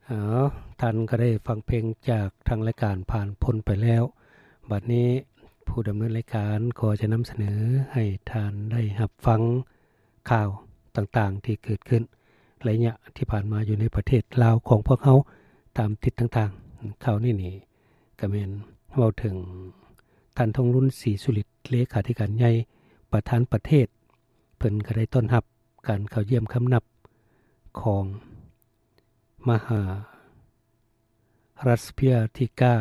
ເອົາ ທ່ານກໍໄດ້ຟັງເພງຈາກທາງລາຍການຜ່ານພົ້ນໄປແລ້ວ. ບັດນີ້ຜູ້ດຳເນີນລາຍການກໍຈະນຳສະເໜີໃຫ້ທ່ານໄດ້ຮັບຟັງຂ່າວຕ່າງໆທີ່ເກີດຂຶ້ນໄລຍະທີ່ຜ່ານມາຢູ່ໃນປະເທດລາວຂອງພວກເຮົາຕາມທິດຕ່າງໆ. ຂ່າວນີ້ນີ້ກໍແມ່ນເວົ້າເຖິງທ່ານ ທອງລຸນ ສີສຸລິດ ເລຂາທິການໃຫຍ່ ປະທານປະເທດ ເພິ່ນກໍໄດ້ຕ້ອນຮັບການເຂົ້າຢ້ຽມຄຳນັບຂອງມະຫາລັດສະພະຍາທິກາ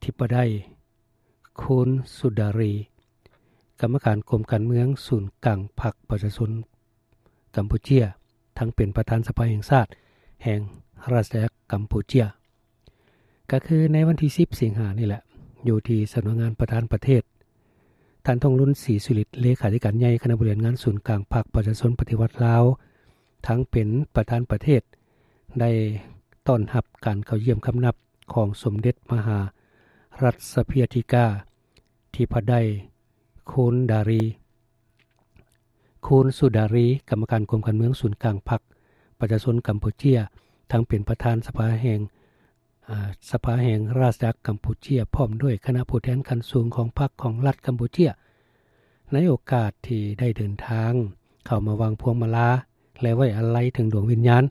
ທິປະໄດ ຄູນ ສຸດາຣີ ກຳມະການກົມການເມືອງສູນກາງພັກປະຊາຊົນກຳປູເຈຍ ທັງເປັນປະທານສະພາແຫ່ງຊາດແຫ່ງອານາຈັກກຳປູເຈຍ. ກໍຄືໃນວັນທີສິບສິງຫານີ້ແຫຼະ ຢູ່ທີ່ສຳນັກງານປະທານປະເທດ, ທ່ານ ທອງລຸນ ສີສຸລິດ ເລຂາທິການໃຫຍ່ຄະນະບໍລິຫານງານສູນກາງພັກປະຊາຊົນປະຕິວັດລາວ ທັງເປັນປະທານປະເທດ ໄດ້ຕ້ອນຮັບການເຂົ້າຢ້ຽມຄຳນັບຂອງສົມເດັດມະຫາລັດສະພະຍາທິກາທິປະໄດ ຄູນ ດາຣີ ຄູນ ສຸດາຣີ ກຳມະການກົມການເມືອງສູນກາງພັກປະຊາຊົນກຳປູເຈຍ ທັງເປັນປະທານສະພາແຫ່ງ ອາ ສະພາແຫ່ງອານາຈັກກຳປູເຈຍ ພ້ອມດ້ວຍຄະນະຜູ້ແທນຂັ້ນສູງຂອງພັກຂອງລັດກຳປູເຈຍ ໃນໂອກາດທີ່ໄດ້ເດີນທາງເຂົ້າມາວາງພວງມາລາ ແລະ ໄວ້ອາໄລເຖິງດວງວິນຍານ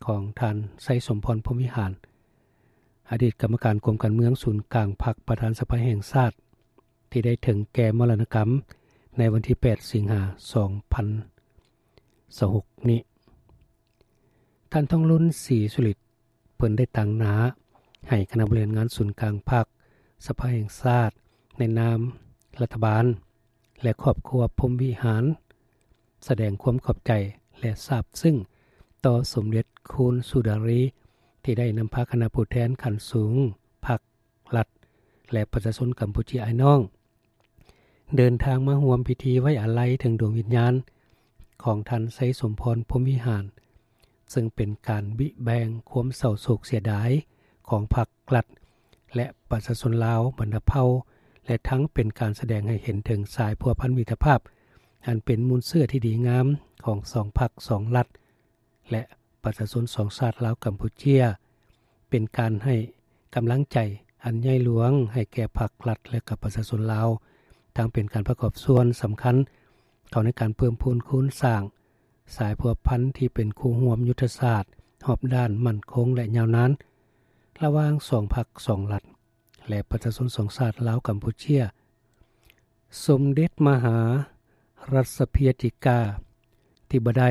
ຂອງທ່ານ ໄຊສົມພອນ ພົມວິຫານ ອະດີດກຳມະການກົມການເມືອງສູນກາງພັກ ປະທານສະພາແຫ່ງຊາດ ທີ່ໄດ້ເຖິງແກ່ມໍລະນະກຳໃນວັນທີແປດສິງຫາສອງພັນຊາວຫົກນີ້. ທ່ານ ທອງລຸນ ສີສຸລິດ ເພິ່ນໄດ້ຕາງໜ້າໃຫ້ຄະນະບໍລິຫານງານສູນກາງພັກ ສະພາແຫ່ງຊາດ ໃນນາມລັດຖະບານ ແລະ ຄອບຄົວພົມວິຫານ ສະແດງຄວາມຂອບໃຈ ແລະ ຊາບຊຶ້ງຕໍ່ສົມເດັດຄູນ ສຸດາຣີ ທີ່ໄດ້ນຳພາຄະນະຜູ້ແທນຂັ້ນສູງພັກ ລັດ ແລະ ປະຊາຊົນກຳປູເຈຍອ້າຍນ້ອງ ເດີນທາງມາຮ່ວມພິທີໄວ້ອາໄລເຖິງດວງວິນຍານຂອງທ່ານ ໄຊສົມພອນ ພົມວິຫານ ເຊິ່ງເປັນການບິແບ່ງຄວາມເສົ້າໂສກເສຍດາຍຂອງພັກ ລັດ ແລະ ປະຊາຊົນລາວບັນດາເຜົ່າ ແລະ ທັງເປັນການສະແດງໃຫ້ເຫັນເຖິງສາຍພົວພັນມິດຕະພາບ ອັນເປັນມູນເຊື້ອທີ່ດີງາມຂອງສອງພັກສອງລັດ ແລະ ປະຊາຊົນສອງຊາດລາວກຳປູເຈຍ ເປັນການໃຫ້ກຳລັງໃຈອັນໃຫຍ່ຫຼວງໃຫ້ແກ່ພັກລັດ ແລະ ກັບປະຊາຊົນລາວ, ທັງເປັນການປະກອບສ່ວນສຳຄັນເຂົ້າໃນການເພີ່ມພູນຄູນສ້າງສາຍພົວພັນທີ່ເປັນຄູ່ຮ່ວມຍຸດທະສາດຮອບດ້ານໝັ້ນຄົງ ແລະ ຍາວນານ ລະຫວ່າງສອງພັກສອງລັດ ແລະ ປະຊາຊົນສອງຊາດລາວກຳປູເຈຍ. ສົມເດັດມະຫາລັດສະພະຍາທິກາທິປະໄດ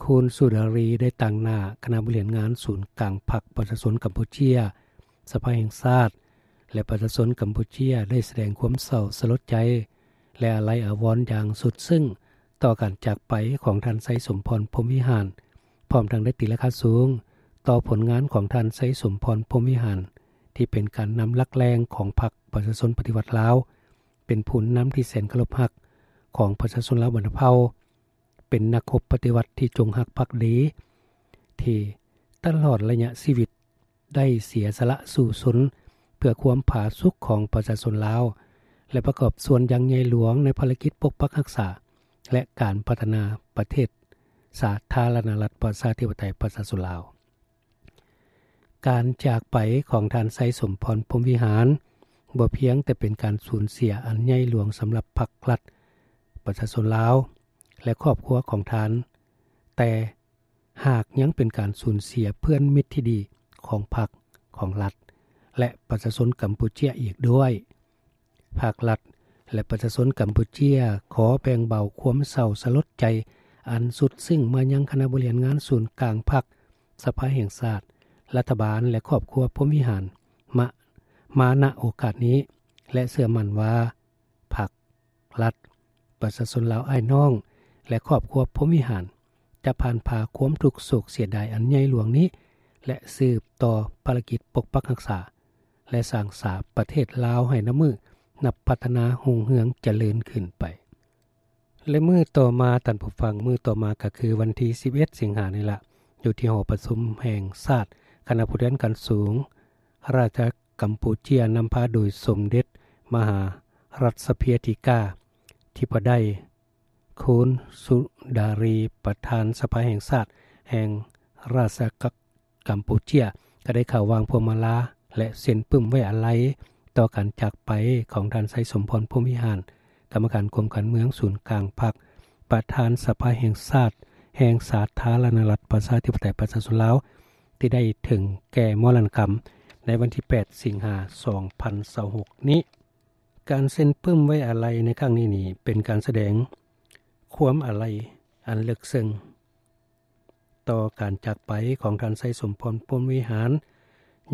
ຄູນ ສຸດາຣີ ໄດ້ຕາງໜ້າຄະນະບໍລິຫານງານສູນກາງພັກປະຊາຊົນກຳປູເຈຍ, ສະພາແຫ່ງຊາດ ແລະ ປະຊາຊົນກຳປູເຈຍ ໄດ້ສະແດງຄວາມເສົ້າສະຫຼົດໃຈ ແລະ ອາໄລອາວອນຢ່າງສຸດຊຶ້ງຕໍ່ການຈາກໄປຂອງທ່ານ ໄຊສົມພອນ ພົມວິຫານ, ພ້ອມທັງໄດ້ຕີລາຄາສູງຕໍ່ຜົນງານຂອງທ່ານ ໄຊສົມພອນ ພົມວິຫານ ທີ່ເປັນການນຳຫຼັກແຫຼ່ງຂອງພັກປະຊາຊົນປະຕິວັດລາວ, ເປັນຜູ້ນຳທີ່ແສນເຄົາລົບຮັກຂອງປະຊາຊົນລາວບັນດາເຜົ່າ, ເປັນນັກຮົບປະຕິວັດທີ່ຈົງຮັກພັກດີ ທີ່ຕະຫຼອດໄລຍະຊີວິດໄດ້ເສຍສະຫຼະສູ້ຊົນເພື່ອຄວາມຜາສຸກຂອງປະຊາຊົນລາວ ແລະ ປະກອບສ່ວນຢ່າງໃຫຍ່ຫຼວງໃນພາລະກິດປົກປັກຮັກສາ ແລະ ການພັດທະນາປະເທດສາທາລະນະລັດປະຊາທິປະໄຕປະຊາຊົນລາວ. ການຈາກໄປຂອງທ່ານ ໄຊສົມພອນ ພົມວິຫານ ບໍ່ພຽງແຕ່ເປັນການສູນເສຍອັນໃຫຍ່ຫຼວງສຳລັບພັກລັດ ປະຊາຊົນລາວ ແລະ ຄອບຄົວຂອງທ່ານ, ແຕ່ຫາກຍັງເປັນການສູນເສຍເພື່ອນມິດທີ່ດີຂອງພັກ, ຂອງລັດ ແລະ ປະຊາຊົນກຳປູເຈຍອີກດ້ວຍ. ພາກລັດ ແລະ ປະຊາຊົນກຳປູເຈຍ ຂໍແບ່ງເບົາຄວາມເສົ້າສະຫຼົດໃຈອັນສຸດຊຶ້ງມາຍັງຄະນະບໍລິຫານງານສູນກາງພັກ, ສະພາແຫ່ງຊາດ, ລັດຖະບານ ແລະ ຄອບຄົວພົມວິຫານ ມາ ມາ ນະ ໂອກາດນີ້ ແລະ ເຊື່ອໝັ້ນວ່າ ພັກ, ລັດ, ປະຊາຊົນລາວອ້າຍນ້ອງ ແລະ ຄອບຄົວພົມວິຫານ ຈະຜ່ານຜ່າຄວາມທຸກໂສກເສຍດາຍອັນໃຫຍ່ຫຼວງນີ້ ແລະ ສືບຕໍ່ພາລະກິດປົກປັກຮັກສາ ແລະ ສ້າງສາປະເທດລາວໃຫ້ນັບມື້ນັບພັດທະນາຮຸ່ງເຮືອງຈະເລີນຂຶ້ນໄປ. ແລະ ມື້ຕໍ່ມາ, ທ່ານຜູ້ຟັງ, ມື້ຕໍ່ມາກໍຄືວັນທີສິບເອັດສິງຫານີ້ລະ, ຢູ່ທີ່ຫໍປະຊຸມແຫ່ງຊາດ, ຄະນະຜູ້ແທນຂັ້ນສູງ ອານາຈັກກຳປູເຈຍ ນຳພາໂດຍສົມເດັດມະຫາລັດສະພະຍາທິກາທິປະໄດ ຄູນ ສຸດາຣີ ປະທານສະພາແຫ່ງຊາດແຫ່ງ ຣາຊອານາຈັກກຳປູເຈຍ ກໍໄດ້ເຂົ້າວາງພວງມາລາ ແລະ ເຊັນປຶ້ມໄວ້ອາໄລຕໍ່ການຈາກໄປຂອງທ່ານ ໄຊສົມພອນ ພົມວິຫານ ກຳມະການກົມການເມືອງສູນກາງພັກ ປະທານສະພາແຫ່ງຊາດ ແຫ່ງສາທາລະນະລັດ ປະຊາທິປະໄຕ ປະຊາຊົນລາວ ທີ່ໄດ້ເຖິງແກ່ມໍລະນະກຳໃນວັນທີແປດ ສິງຫາ ສອງພັນຊາວຫົກນີ້. ການເຊັນປຶ້ມໄວ້ອາໄລໃນຄັ້ງນີ້ນີ້ ເປັນການສະແດງຄວາມອາໄລອັນເລິກເຊິ່ງຕໍ່ການຈາກໄປຂອງທ່ານ ໄຊສົມພອນ ພົມວິຫານ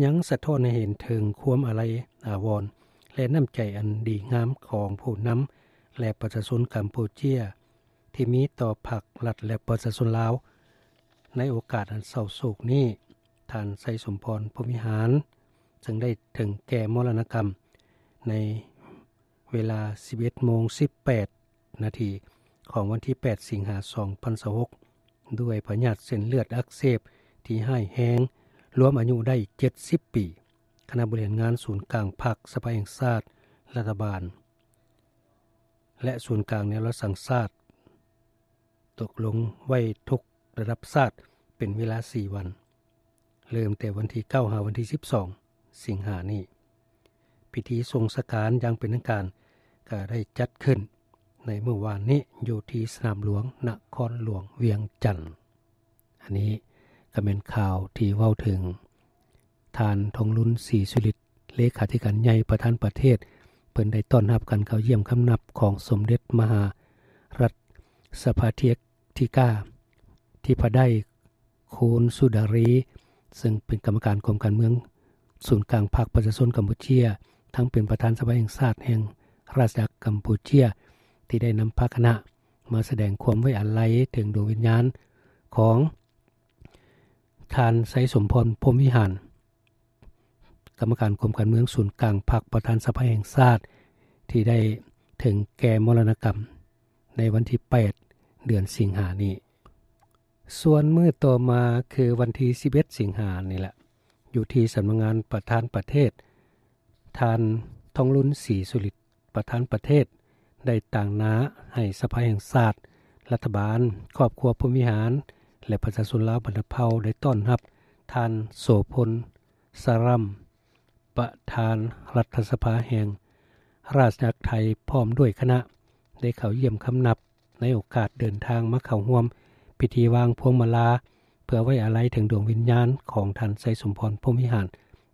ຍັງສະທ້ອນໃຫ້ເຫັນເຖິງຄວາມອາໄລອາວອນ ແລະ ນ້ຳໃຈອັນດີງາມຂອງຜູ້ນຳ ແລະ ປະຊາຊົນກຳປູເຈຍ ທີ່ມີຕໍ່ພັກລັດ ແລະ ປະຊາຊົນລາວ. ໃນໂອກາດອັນເສົ້າໂສກນີ້, ທ່ານ ໄຊສົມພອນ ພົມວິຫານ ເຊິ່ງໄດ້ເຖິງແກ່ມໍລະນະກຳໃນເວລາສິບເອັດໂມງສິບແປດນາທີຂອງວັນທີແປດ ສິງຫາ ສອງພັນຊາວຫົກ ດ້ວຍພະຍາດເສັ້ນເລືອດອັກເສບທີ່ຮ້າຍແຮງ, ລວມອາຍຸໄດ້ເຈັດສິບປີ. ຄະນະບໍລິຫານງານສູນກາງພັກ, ສະພາແຫ່ງຊາດ, ລັດຖະບານ ແລະ ສູນກາງແນວລາວສ້າງຊາດ ຕົກລົງໄວ້ທຸກລະດັບຊາດເປັນເວລາສີ່ວັນ, ເລີ່ມແຕ່ວັນທີເກົ້າ ຫາວັນທີສິບສອງ ສິງຫານີ້. ພິທີສົ່ງສະການຢ່າງເປັນທາງການກໍໄດ້ຈັດຂຶ້ນໃນມື້ວານນີ້ ຢູ່ທີ່ສະໜາມຫຼວງນະຄອນຫຼວງວຽງຈັນ. ອັນນີ້ກໍແມ່ນຂ່າວທີ່ເວົ້າເຖິງ ທ່ານ ທອງລຸນ ສີສຸລິດ ເລຂາທິການໃຫຍ່ປະທານປະເທດ ເພິ່ນໄດ້ຕ້ອນຮັບການເຂົ້າຢ້ຽມຄຳນັບຂອງສົມເດັດມະຫາລັດສະພາທິກາທິພະໄດ ຄູນ ສຸດາຣີ ເຊິ່ງເປັນກຳມະການກົມການເມືອງສູນກາງພັກປະຊາຊົນກຳປູເຈຍ ທັງເປັນປະທານສະພາແຫ່ງຊາດແຫ່ງຣາຊອານາຈັກກຳປູເຈຍ ທີ່ໄດ້ນຳພາຄະນະມາສະແດງຄວາມໄວ້ອາໄລເຖິງດວງວິນຍານຂອງ ທ່ານ ໄຊສົມພອນ ພົມວິຫານ ກຳມະການກົມການເມືອງສູນກາງພັກ ປະທານສະພາແຫ່ງຊາດ ທີ່ໄດ້ເຖິງແກ່ມໍລະນະກຳໃນວັນທີແປດ ເດືອນສິງຫານີ້. ສ່ວນມື້ຕໍ່ມາຄືວັນທີສິບເອັດ ສິງຫານີ້ແຫຼະ, ຢູ່ທີ່ສຳນັກງານປະທານປະເທດ, ທ່ານ ທອງລຸນ ສີສຸລິດ ປະທານປະເທດ ໄດ້ຕາງໜ້າໃຫ້ສະພາແຫ່ງຊາດ, ລັດຖະບານ, ຄອບຄົວພົມວິຫານ ແລະ ປະຊາຊົນລາວບັນດາເຜົ່າ ໄດ້ຕ້ອນຮັບທ່ານ ໂສພົນ ສາຣຳ ປະທານລັດຖະສະພາແຫ່ງຣາຊອານາຈັກໄທ ພ້ອມດ້ວຍຄະນະ ໄດ້ເຂົ້າຢ້ຽມຄຳນັບ ໃນໂອກາດເດີນທາງມາເຂົ້າຮ່ວມພິທີວາງພວງມາລາ ເພື່ອໄວ້ອາໄລເຖິງດວງວິນຍານຂອງທ່ານ ໄຊສົມພອນ ພົມວິຫານ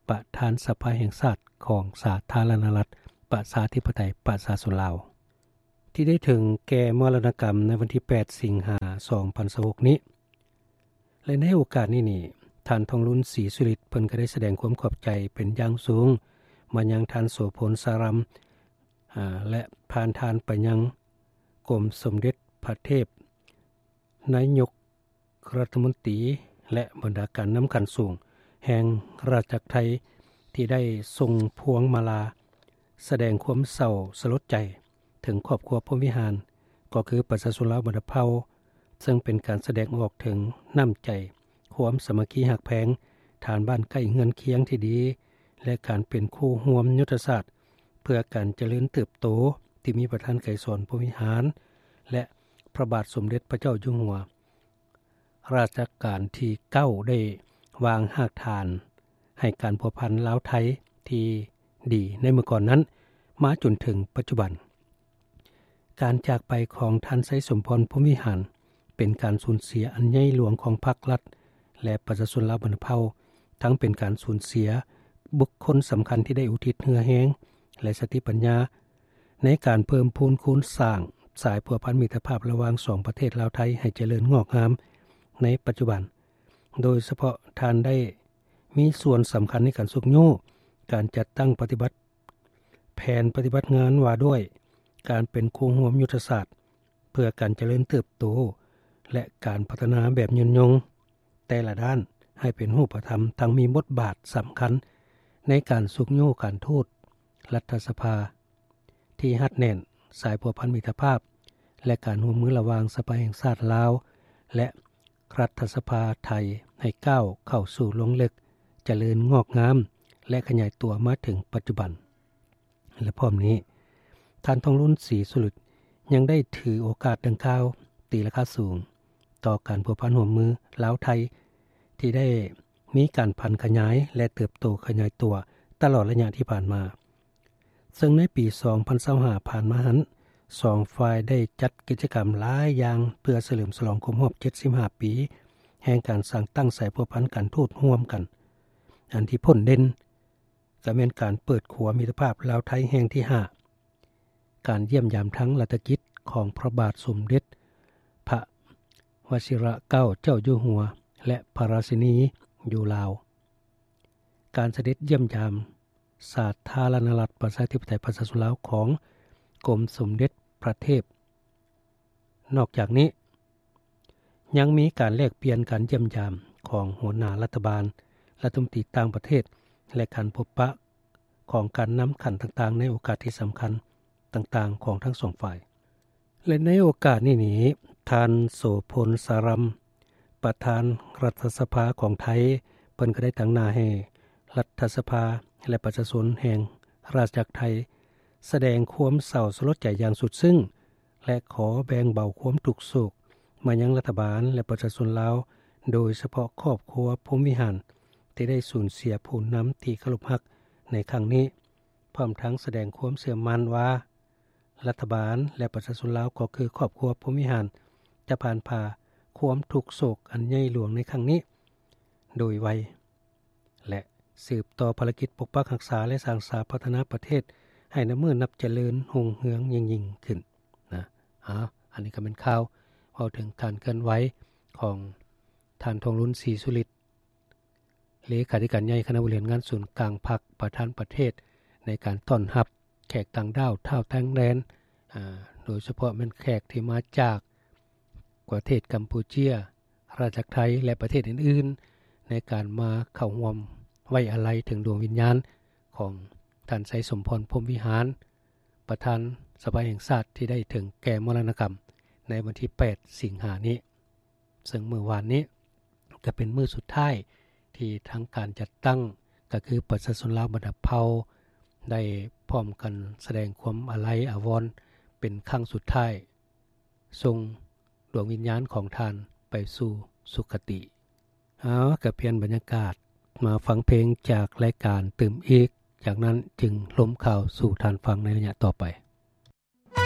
ປະທານສະພາແຫ່ງຊາດຂອງສາທາລະນະລັດ ປະຊາທິປະໄຕ ປະຊາຊົນລາວ ທີ່ໄດ້ເຖິງແກ່ມໍລະນະກຳໃນວັນທີແປດ ສິງຫາ ສອງພັນຊາວຫົກນີ້ ແລະ ໃນໂອກາດນີ້ນີ້ ທ່ານ ທອງລຸນ ສີສຸລິດ ເພິ່ນກໍໄດ້ສະແດງຄວາມຂອບໃຈເປັນຢ່າງສູງມາຍັງທ່ານ ໂສພົນ ສາຣຳ ອາ ແລະ ຜ່ານທ່ານໄປຍັງກົມສົມເດັດພະເທບ ນາຍົກລັດຖະມົນຕີ ແລະ ບັນດາການນຳຂັ້ນສູງແຫ່ງຣາຊອານາຈັກໄທ ທີ່ໄດ້ສົ່ງພວງມາລາສະແດງຄວາມເສົ້າສະຫຼົດໃຈເຖິງຄອບຄົວພົມວິຫານ ກໍຄືປະຊາຊົນລາວບັນດາເຜົ່າ, ເຊິ່ງເປັນການສະແດງອອກເຖິງນ້ຳໃຈ, ຄວາມສາມັກຄີຮັກແພງ, ຖານບ້ານໃກ້ເຮືອນຄຽງທີ່ດີ ແລະ ການເປັນຄູ່ຮ່ວມຍຸດທະສາດເພື່ອການຈະເລີນເຕີບໂຕ ທີ່ມີປະທານໄກສອນ ພົມວິຫານ ແລະ ພະບາດສົມເດັດພະເຈົ້າຢູ່ຫົວ ລາຊະການທີເກົ້າ ໄດ້ວາງຮາກຖານໃຫ້ການພົວພັນລາວ-ໄທທີ່ດີໃນເມື່ອກ່ອນນັ້ນ ມາຈົນເຖິງປັດຈຸບັນ. ການຈາກໄປຂອງທ່ານ ໄຊສົມພອນ ພົມວິຫານ ເປັນການສູນເສຍອັນໃຫຍ່ຫຼວງຂອງພັກລັດ ແລະ ປະຊາຊົນລາວບັນດາເຜົ່າ, ທັງເປັນການສູນເສຍບຸກຄົນສຳຄັນທີ່ໄດ້ອຸທິດເຫື່ອແຮງ ແລະ ສະຕິປັນຍາ ໃນການເພີ່ມພູນຄູນສ້າງສາຍພົວພັນມິດຕະພາບລະຫວ່າງສອງປະເທດລາວ-ໄທໃຫ້ຈະເລີນງອກງາມໃນປັດຈຸບັນ, ໂດຍສະເພາະທ່ານໄດ້ມີສ່ວນສຳຄັນໃນການຊຸກຍູ້ການຈັດຕັ້ງປະຕິບັດແຜນປະຕິບັດງານວ່າດ້ວຍການເປັນຄູ່ຮ່ວມຍຸດທະສາດເພື່ອການຈະເລີນເຕີບໂຕ ແລະ ການພັດທະນາແບບຍືນຍົງ ແຕ່ລະດ້ານໃຫ້ເປັນຮູບປະທຳ, ທັງມີບົດບາດສຳຄັນໃນການຊຸກຍູ້ການທູດ, ລັດຖະສະພາທີ່ຮັດແໜ້ນ, ສາຍພົວພັນມິດຕະພາບ ແລະ ການຮ່ວມມືລະຫວ່າງສະພາແຫ່ງຊາດລາວ ແລະ ລັດຖະສະພາໄທ ໃຫ້ກ້າວເຂົ້າສູ່ລວງເລິກ, ຈະເລີນງອກງາມ ແລະ ຂະຫຍາຍຕົວມາເຖິງປັດຈຸບັນ. ແລະ ພ້ອມນີ້, ທ່ານ ທອງລຸນ ສີສຸລິດ ຍັງໄດ້ຖືໂອກາດດັ່ງກ່າວ ຕີລາຄາສູງຕໍ່ການພົວພັນຮ່ວມມືລາວ-ໄທ ທີ່ໄດ້ມີການຜັນຂະຫຍາຍ ແລະ ເຕີບໂຕຂະຫຍາຍຕົວຕະຫຼອດໄລຍະທີ່ຜ່ານມາ. ເຊິ່ງໃນປີສອງພັນຊາວຫ້າຜ່ານມາຫັ້ນ ສອງຝ່າຍໄດ້ຈັດກິດຈະກຳຫຼາຍຢ່າງ ເພື່ອສະເຫຼີມສະຫຼອງຄົບຮອບເຈັດສິບຫ້າປີ ແຫ່ງການສ້າງຕັ້ງສາຍພົວພັນການທູດຮ່ວມກັນ. ອັນທີ່ພົ້ນເດັ່ນກໍແມ່ນການເປີດຂົວມິດຕະພາບລາວ-ໄທແຫ່ງທີຫ້າ, ການຢ້ຽມຢາມທາງລັດຖະກິດຂອງພະບາດສົມເດັດພະວະຊິລະເກົ້າເຈົ້າຢູ່ຫົວ ແລະ ພະລາຊິນີຢູ່ລາວ, ການສະເດັດຢ້ຽມຢາມສາທາລະນະລັດປະຊາທິປະໄຕປະຊາຊົນລາວຂອງກົມສົມເດັດພະເທບ. ນອກຈາກນີ້ ຍັງມີການແລກປ່ຽນການຢ້ຽມຢາມຂອງຫົວໜ້າລັດຖະບານ, ລັດຖະມົນຕີຕ່າງປະເທດ ແລະ ການພົບປະຂອງການນຳຂັ້ນຕ່າງໆ ໃນໂອກາດທີ່ສຳຄັນຕ່າງໆ ຂອງທັງສອງຝ່າຍ. ແລະ ໃນໂອກາດນີ້ນີ້ ທ່ານ ໂສພົນ ສາຣຳ ປະທານລັດຖະສະພາຂອງໄທ ເພິ່ນກໍໄດ້ຕາງໜ້າໃຫ້ລັດຖະສະພາ ແລະ ປະຊາຊົນແຫ່ງລາຊະອານາຈັກໄທ ສະແດງຄວາມເສົ້າສະຫຼົດໃຈຢ່າງສຸດຊຶ້ງ ແລະ ຂໍແບ່ງເບົາຄວາມທຸກໂສກມາຍັງລັດຖະບານ ແລະ ປະຊາຊົນລາວ, ໂດຍສະເພາະຄອບຄົວພົມວິຫານ ທີ່ໄດ້ສູນເສຍຜູ້ນຳທີ່ເຄົາລົບຮັກໃນຄັ້ງນີ້, ພ້ອມທັງສະແດງຄວາມເຊື່ອໝັ້ນວ່າ ລັດຖະບານ ແລະ ປະຊາຊົນລາວ ກໍຄືຄອບຄົວພົມວິຫານ ຈະຜ່ານຜ່າຄວາມທຸກໂສກອັນໃຫຍ່ຫຼວງໃນຄັ້ງນີ້ໂດຍໄວ ແລະ ສືບຕໍ່ພາລະກິດປົກປັກຮັກສາ ແລະ ສ້າງສາພັດທະນາປະເທດໃຫ້ນັບມື້ນັບຈະເລີນຮຸ່ງເຮືອງຍິ່ງໆຂຶ້ນນະ. ອາ ອັນນີ້ກໍແມ່ນຂ່າວເວົ້າເຖິງການເຄື່ອນໄຫວຂອງທ່ານ ທອງລຸນ ສີສຸລິດ ເລຂາທິການໃຫຍ່ຄະນະບໍລິຫານງານສູນກາງພັກ ປະທານປະເທດ ໃນການຕ້ອນຮັບແຂກຕ່າງດ້າວທ້າວຕ່າງແດນ, ອາ ໂດຍສະເພາະແມ່ນແຂກທີ່ມາຈາກປະເທດກຳປູເຈຍ, ລາຊະອານາຈັກໄທ ແລະ ປະເທດອື່ນໆ ໃນການມາເຂົ້າຮ່ວມໄວ້ອາໄລເຖິງດວງວິນຍານຂອງທ່ານ ໄຊສົມພອນ ພົມວິຫານ ປະທານສະພາແຫ່ງຊາດ ທີ່ໄດ້ເຖິງແກ່ມໍລະນະກຳໃນວັນທີແປດ ສິງຫານີ້. ເຊິ່ງມື້ວານນີ້ກໍເປັນມື້ສຸດທ້າຍທີ່ທາງການຈັດຕັ້ງ ກໍຄືປະຊາຊົນລາວບັນດາເຜົ່າ ໄດ້ພ້ອມກັນສະແດງຄວາມອາໄລອາວອນເປັນຄັ້ງສຸດທ້າຍ ສົ່ງດວງວິນຍານຂອງທ່ານໄປສູ່ສຸຄະຕິ. ເອົາ ກໍປ່ຽນບັນຍາກາດມາຟັງເພງຈາກລາຍການຕື່ມອີກ, ຈາກນັ້ນຈຶ່ງລົມຂ່າວສູ່ທ່ານຟັງໃນໄລຍະຕໍ່ໄປ.